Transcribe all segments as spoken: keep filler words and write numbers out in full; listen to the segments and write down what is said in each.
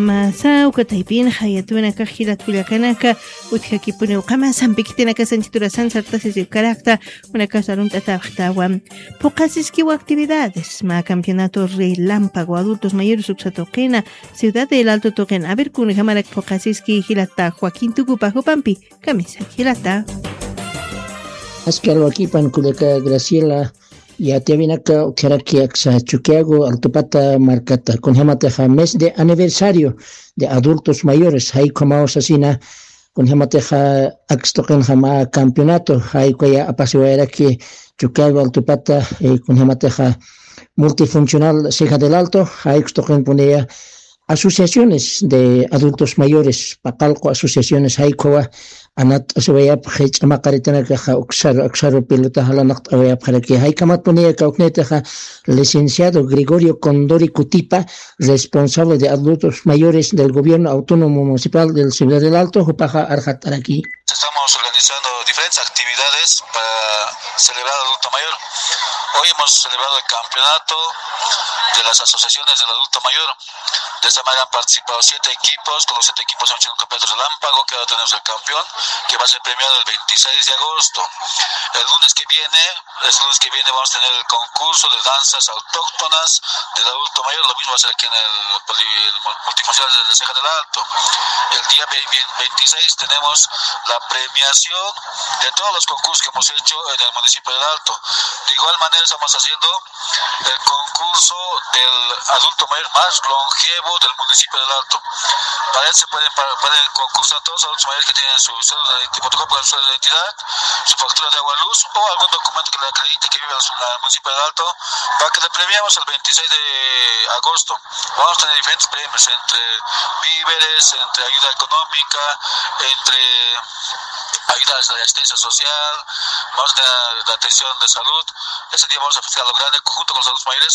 Masa uka taypinxa yatwanakax jilat kullakanaka, utjakipuniw qama sampi khitinakasanchi turasan sartasisiw karakta, unakas arunt'atawaxtawan. Phuqasiskiw actividades mä campeonato relámpago adultos mayores uksa tuqina, Ciudad del Alto tuqin. A ver, kunjamarak phuqasiski jilata Joaquín Tucupa jupampi kamisaki jilata. Askar wakipan kullaka Graciela, yatiyawinaka utjaraki aksa Chuquiago Altupata markata, kunjamatixa mes de aniversario de adultos mayores, jaykhamaw sasina, kunjamatixa akstuqinxa mä campeonato, jaykaya apasiwayaraki Chuquiago Altupata, eh, kunjamatixa multifuncional Ceja del Alto, jaykstuqinpuniya asociaciones de adultos mayores, paqallqu asociaciones jaykhawa anat'asiwayapxi, ch'amaqaritanakaxa uksaru, uksaru pelota jalanaqt'awayapxaraki. Jaykhamatpuniya kawknitixa licenciado Gregorio Condori Cutipa, responsable de adultos mayores del gobierno autónomo municipal del Ciudad del Alto, jupaxa arxat'araki. Estamos organizando diferentes actividades para celebrar al adulto mayor. Hoy hemos celebrado el campeonato de las asociaciones del adulto mayor. De esta manera han participado siete equipos, con los siete equipos hemos hecho un campeonato relámpago, que ahora tenemos el campeón, que va a ser premiado el veintiséis de agosto. El lunes que viene, el lunes que viene vamos a tener el concurso de danzas autóctonas del adulto mayor, lo mismo va a ser aquí en el, poli- el multifuncional de Ceja del Alto. El día ve- ve- veintiséis tenemos la premiación de todos los concursos que hemos hecho en el municipio del Alto. De igual manera estamos haciendo el concurso del adulto mayor más longevo del municipio del Alto. Para él se pueden, para- pueden concursar todos los adultos mayores que tienen su cédula de, fotocopia de su cédula de identidad, su factura de agua, luz o algún documento que le acredite que vive en el municipio del Alto, para que le premiemos el veintiséis de agosto. Vamos a tener diferentes premios entre víveres, entre ayuda económica, entre ayudas de asistencia social, vamos a tener la atención de salud. Ese día vamos a festejar lo grande junto con los adultos mayores.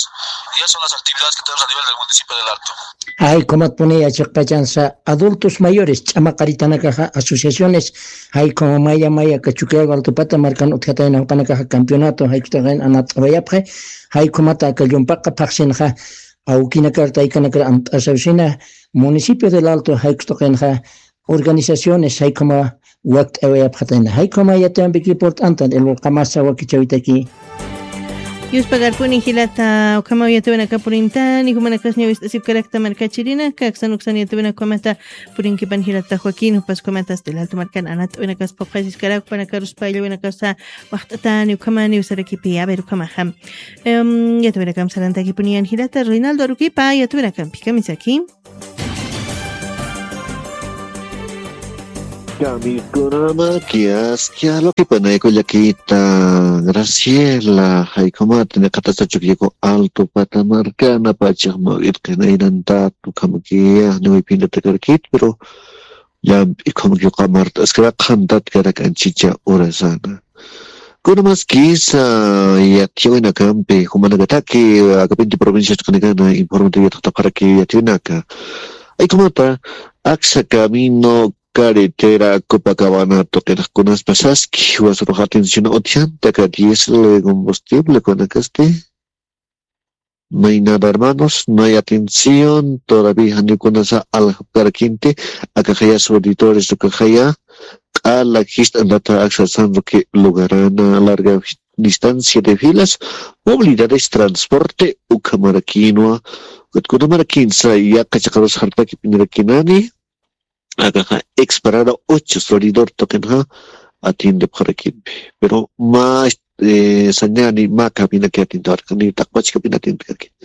Y esas son las actividades que tenemos a nivel del municipio del Alto. Jaykhamaw puniya chiqpachansa adultos mayores, ch'amaqaritanakaxa asociaciones, jaykhamaw maya maya aka Chuquiago Altupata markan utjatayna jupanakaxa campeonato, jaykhamaw anat'awayapxi, jaykhamaw aka llumpaqa phaxsinxa, awkinakar taykanakar amt'asawsina, municipio del Alto jaykhamaw tuqinxa, organizaciones jaykhamaw wakt'awayapxatayna. Jaykhamaw yatiyampiki purt'antan, el qamasa wakichäwitaki. Yuspagarpuni jilata, ukhamaw yatiyawanaka purintani, jumanakas ñäwist'asipkarakta markachirinaka, aksan uksan yatiyawanaka ukhamata purinkipan jilata Joaquín, jupas ukhamata del Alto markan anat'awinakas phuqasiskarak, jupanakarusa payllawinakasa waxt'atani, ukhamani usarakipi, a ver, ukhamaxa. Em, yatiyawanakam sarantakipuniyan jilata, Reinaldo Aruquipa, yatiyawanakampikamisaki. Kamiskunamaki askha aluqipanay kullakita Graciela, jaykhamaw niqatasa Chuquiago Alto pata markana pachax mä irqinaynantat ukhamakiya niwiphinatakarkit, pero llamp'i ukhamakiw qamart'askara qhantatkarak anchicha urasana. Kunamaskisa yatiyawinakampi, jumanakataki, akapinti provincia chiqanikana informativo yatxatapxaraki yatiyawinaka. Jaykhamaw aksa camino, carretera Copacabana tuqinxa kunaspa saski, jiwasaruxa atención utjanta aka diésel, combustible, kunakasti. No hay nada, hermanos, no hay atención, todavía janiw kunasa aljapkarakïnti, akaxaya suelidores ukaxaya, q'ala jist'antata aksa San Roque lugarana, larga distancia de filas, movilidades, transporte, ukhamarakïnwa, ukat kunamarakïnsa yaqha chiqarus jart'akipinirakïnani, akaxa exparada ocho suelidor tuqinxa atiendepxarakïnpi. Pero mä, eh, sañäni mä caminaki atiendepxarakïnwa, ni taqpach camino atiendepxarakïnwa.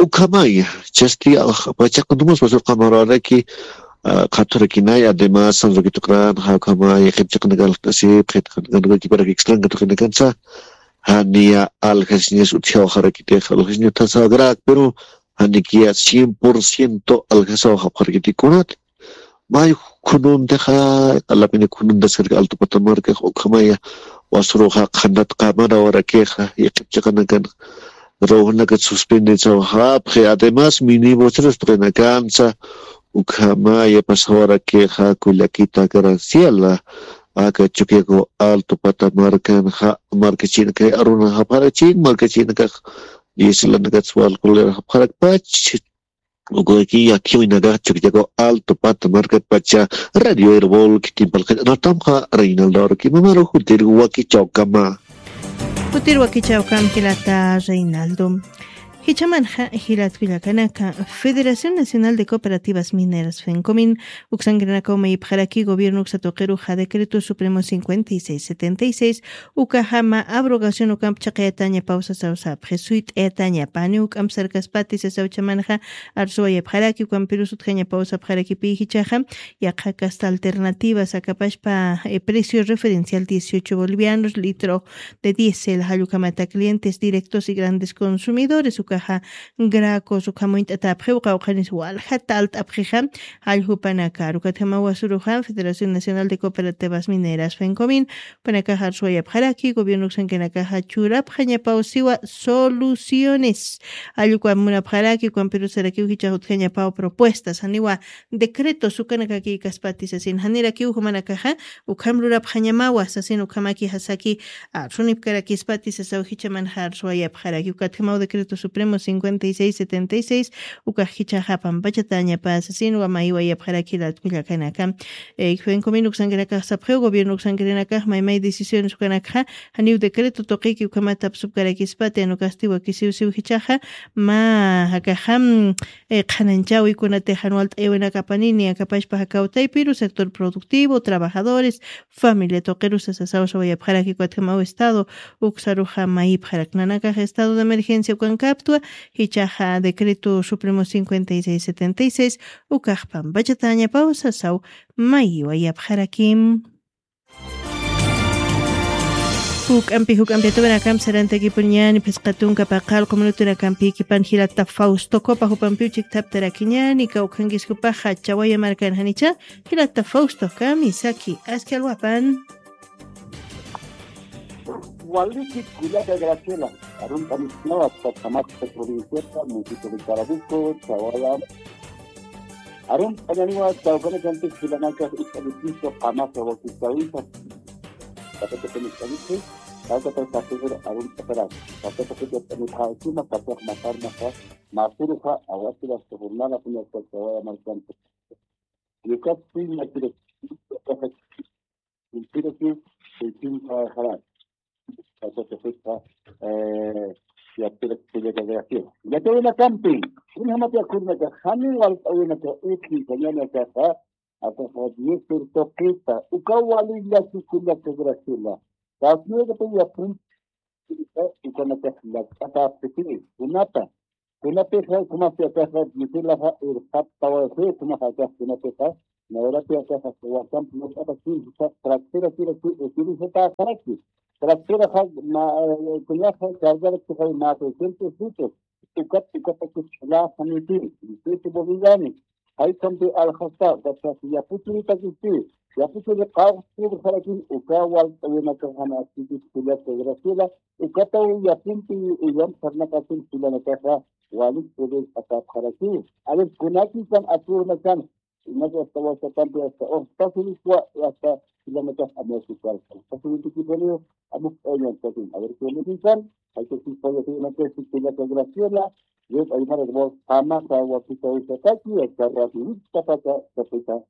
Ukhamaya, chasti, ah, pachaqa numas wasur qamaruwaraki, ah, qhaturakinay, además, San Roque tuqinxa, ukhamaya, qhipchiqan aljt'asip, qhipchiqan kiparak extranca tuqinakansa, janiya aljasiñas utjawaxarakitix, aljasiñas utjasawarak, pero janikiya cien por ciento aljasawaxapxarakiti kunat. May khununtixa, q'alapini khununtaskaraki Alto pata markax, ukhamaya wasuruxa qhantat qamarawarakixa, yaqhip chiqanakan ruwanakat suspendisawaxapxi, además, minibuseros tuqinakansa, ukhamaya pasawarakixa, kullakita Graciela, aka Chuquiago Alto pata markanxa, markachinakay arunaxapxarakchin, markachinakax, dieselanakat walqulirakxapxarakpach, Ukakiya khiwinakax Chukiyaku Alto Pata markatpacha Radio Erbol kikin palqit anatamxa Reinaldo Aruki mamaru jutir wakichawkama. Jutir wakichawkam jilata Reinaldo. Jichamanxa jilat kullakanaka, Federación Nacional de Cooperativas Mineras, FENCOMIN, uksankirinakaw mayipxaraki gobierno uksa tuqiruxa decreto supremo cincuenta y seis setenta y seis, ukajama abrogación ukamp chaqayataña pawsasaw sapxi suyt'ayataña pani uk'amp sarkaspati sasaw chamanxa arsuwayapxaraki ukampirus utjaña pawsapxarakipi jichaxa, yaqha kasta alternativas akapashpa, eh, precio referencial dieciocho bolivianos litro de diésel jallukhamata clientes directos y grandes consumidores ukaxa, gracos ukhamuñt'atapxiw qawqhanis waljata alt'apxixa, jalljupanakar ukatjamawa suruxa Federación Nacional de Cooperativas Mineras, FENCOMIN, panakaxa arsuwayapxaraki gobierno uksankinakaxa churapxañapaw siwa soluciones. Allukwa munapxaraki ukampirusarakiw jichax utjañapaw propuestas janiwa decretos ukanakaki kaspati sasin janirakiw jumanakaxa, ukham rurapxañamawa sasin ukhamaki jasaki arsunipkarakispati sasaw jichamanxa arsuwayapxaraki ukatjamaw decreto supremo cincuenta y seis setenta y seis, ukax jichaxa pampachatañapa sasin wamaywayapxaraki latkullakanaka. Eh, FENCOMIN uksankirinakax sapxiw gobierno uksankirinakax maymay decisiones ukanakxa, janiw decreto tuqiki ukhamatap supkarakispati anukasti wakisiw siw jichaxa, ma jakaxam, eh, qhananchawi kunatix jan walt'ayawinak apanini akapashpa jakawtaypiru sector productivo, trabajadores, familia tuqirusa sasaw sawayapxaraki ukatjamaw estado uksaruxa mayipxarak nanakax estado de emergencia ukankaptwa, jichaxa decreto supremo cincuenta y seis setenta y seis ukax pampachatañapaw sasaw mayiwayapxarakim. Juk'ampi juk'ampi atuwinakam sarantakipuñani phisqa tunka paqal q'uminutinakampi kipan jilata Fausto Copa jupampiw chikthaptarakiñani kawkhankiskupaxa chawaya markan janicha. Jilata Fausto kami saki aski alwapan. Waliki kullaka Graciela, arunta misnawa, Tacamaca provinciata, municipio de Carabuco, Chawaya. Arunta ñaniwa, chawkana kantik jilanaka, ita distrito, Qamasa, Wakichawisa. Katata peniskaniki, katata kasir, arunta peras. Katata peniskaniki, katata masar masa, masuruja, awasira, jornada, puña, Chawaya, marcante. Yucat, puña, Kullpiraki, kullpiraki, eh, yaptirak kullaka Graciela. Yatawinakampi, kunjamati akhurnaka, jani walt'awinaka, utji, kañanakaxa, akaxa, diez tuqita, uka wali llaki kullaka Graciela. Kasnirata yapun, ukanakax llak'ata aptipini, kunata, Kunapixa, ukhamapi akaxa, misilaxa, irqaptawayxi, ukhamaxa akax, kunapixa, nawrapi akaxa, wakampi, ñuqapax, kinsa, tractera, kira, ki, utilizatäxaraki. Tracteraxa, ma, eh, kunaxa, cargarakixa, ma, seiscientos litros. Ukat, ukatakixa, ch'ullaxaniti, dieciocho boliviani. Jaykampi alxasta, ukaxa, yapuchuritakisti, yapuchuri, qawqsirxarakin, uka, walt'awinakaxana, akiti, kullaka, Graciela, Ukataw yapimpi uyam sarnaqasin jilanakaxa walik poder atapxarakiw. A ver, kunakisan akurnakan, inaka hasta wasatampi hasta hasta jilanakax amuyasukar. Hasta jilanakax amuyasukar. A ver, kunakisan, hay que si puede ser una que si que la que Graciela, Dios ayuda a vos, jamás a vos, si te gusta, aquí, hasta ratito, hasta, hasta, hasta,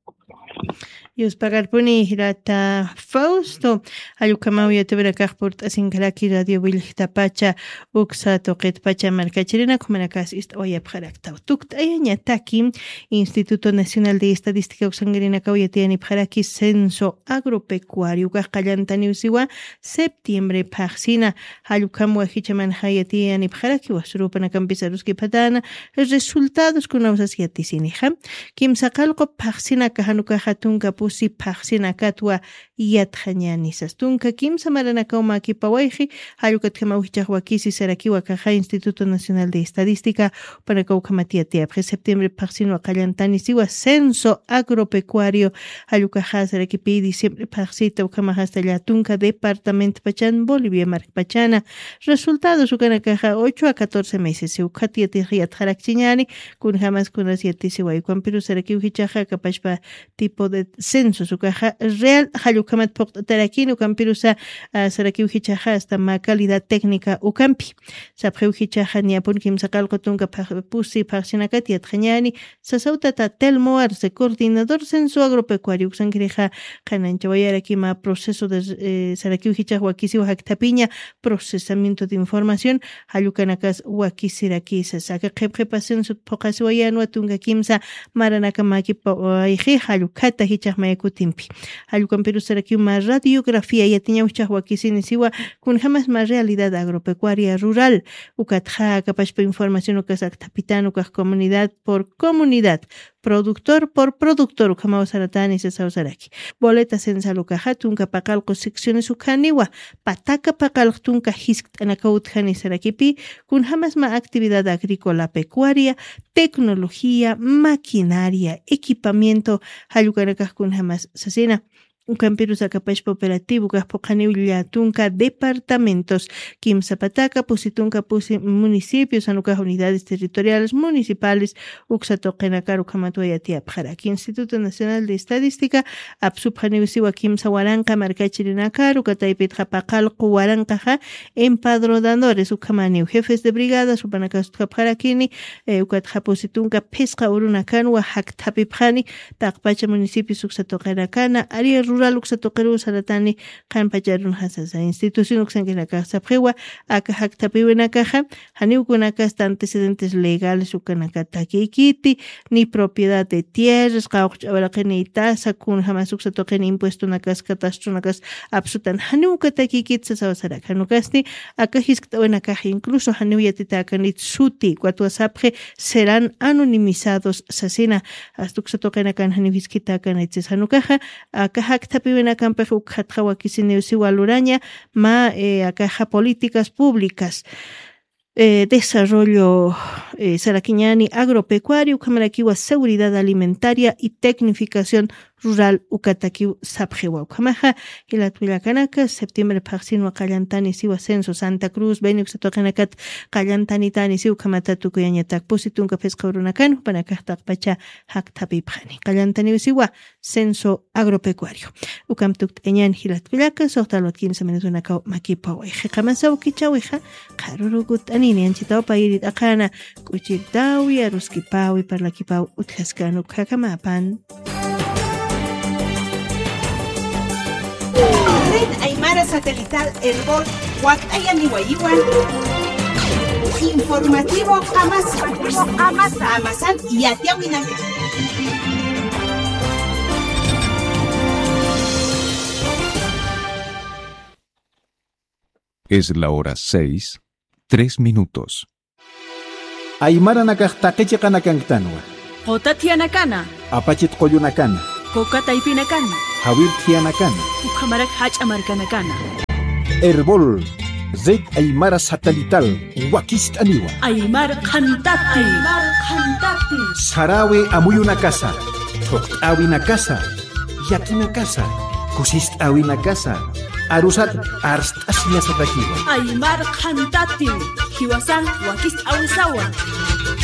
Yuspagarpuni jirata Fausto, jallukamaw yatawinakax purt'asinkaraki radio willktapacha, uksa tuqitpacha markachirina, kumanakas ist'awayapxaraktaw. Tukt'ayañataki Instituto Nacional de Estadística uksankirinakaw yatiyanipxaraki censo agropecuario, ukax qallantaniw siwa septiembre phaxsina, jallukam wajichamanxa yatiyanipxaraki, wasrupanakampis aruskipxatana, resultados kunawsas yatisinixa. Kimsa qallqu phaxsinaka jan ukaxa tunka pusi phaxsinakatwa yatxañänisas. Tunka kimsa maranakaw mäkipawayxi, jall ukatjamaw jichhax wakisi sarakiw akaxa Instituto Nacional de Estadística, jupanakaw ukhamat yatiyapxi septiembre phaxsinwa qallantanisiwa censo agropecuario, jall ukaxa sarakipï diciembre phaxsita ukhamax hasta llätunka departamentpachan Bolivia markpachana. Resultados ukanakaxa ocho a catorce meses ukhat yatix yatxarakchiñäni, kunjamas kunas yatisiway. Ukampirus sarakiw jichhaxa akapashpa tipo de censos ukaxa real jall ukhamat phuqt'atarakini, ukampirusa, ah, sarakiw jichhaxa hasta mä calidad técnica ukampi. Sapxiw jichhaxa niyapun kimsa qallqu tunka phax-, pusi phaxsinakat yatxañäni, sasaw tata Telmo Arce, coordinador Censo Agropecuario, uksankirixa qhananchawayaraki mä proceso de, eh, sarakiw jichhax wakisiw jakthapiña, procesamiento de información, jall ukanakas wakisirakisa. Sasa aka qhipqhipa censot phuqasiwayänwa tunka kimsa maranaka mäkipawayxi, jall ukhata jichhax maya kutimpi. Jall ukampirus sarakiw mä radiografía yatiñaw jichhax wakisinisiwa, kunjamas mä realidad agropecuaria rural. Ukatxa aka pachpa información ukas akthapitän ukax comunidad por comunidad, productor por productor ukhamaw saratäni sasaw saraki. Boleta censal ukaxa tunka paqallqu secciones ukhaniwa, pataka paqallq tunka jiskt'anakaw utjani sarakipï, kunjamas mä actividad agrícola pecuaria, tecnología, maquinaria, equipamiento, jall ukanakax kunjamas sasina. Ukampirus aka pachpa operativo ukax phuqhaniw llä tunka departamentos, kimsa pataka pusi tunka pusi municipios, jan ukax unidades territoriales municipales, uksa tuqinakar ukhamatwa yatiyapxaraki. Instituto Nacional de Estadística apsupxaniw siwa kimsa waranqa markachirinakar, uka taypitxa paqallqu waranqaxa empadronadores ukhamaniw, jefes de brigadas, jupanakas utjapxarakini, eh, ukatxa pusi tunka phisqa urunakanwa jakthapipxani, taqpacha municipios uksa tuqinakana, área rural uksa tuqiruw saratani, qhanpacha arunxa sasa. Institución uksankinakax sapxiwa, aka jakthapïwinakaxa, janiw kunakasta antecedentes legales ukanakat takiykiti, ni propiedad de tierras, qawqch'awaraqinïtasa, kunjamas uksa tuqin impuestonakas, cadastronakas apsutan, janiw uka takiykiti sasaw saraki. Jan ukasti, aka jiskt'awinakax incluso janiw yatitäkanit suti, ukatwa sapxi serán anonimizados sasina, hasta uksa tuqinakan janiw jiskt'akanit sas. Jan ukaxa, aka jakthapïwinakampix ukxatxa wakisiniw siwa luraña, mä, eh, akaxa políticas públicas, eh, desarrollo, eh, sarakiñäni agropecuario, ukhamarakiwa seguridad alimentaria y tecnificación rural ukatakiw sapxiwa. Ukhamaxa, jilat kullakanaka, septiembre phaxsinwa qallantanisiwa censo Santa Cruz, Beni uksa tuqinakat qallantanitänisiw, ukhamata tukuyañatak pusi tunka phisqa urunakan, jupanakax taqpacha jakthapipxani. Qallantaniw siwa, censo agropecuario. Ukham tukt'añän jilat kullaka, suxta alwat kimsa minutunakaw makipaway. Jiqamasa ukichawixa, qharürukut'anini anchitaw payiri t'aqhana, k'uchirtawi, aruskipawi, parlakipaw utjaskän ukhakamä pan. Red Aymara Satelital Erbol, wakt'ayaniwayiwan. Informativo Qamasa. Qamasa. Qamasan yatiyawinaka. Es la hora seis, tres minutos. Aymaranakax taqi chiqanakanktanwa. Quta thiyanakana. Apachit qullunakana. Quka taypinakana. Jawir thiyanakana. Ukhamarak jach'a markanakana. Erbol, Red Aymara Satelital, wakist'aniwa. Aymar qhantati. Aymar qhantati. Sarawi amuyunakasa, thuqt'äwinakasa, llakinakasa, kusist'äwinakasa, arusat arst'asiñasatakiwa. Aymar qhantati, jiwasan wakist'äwisawa.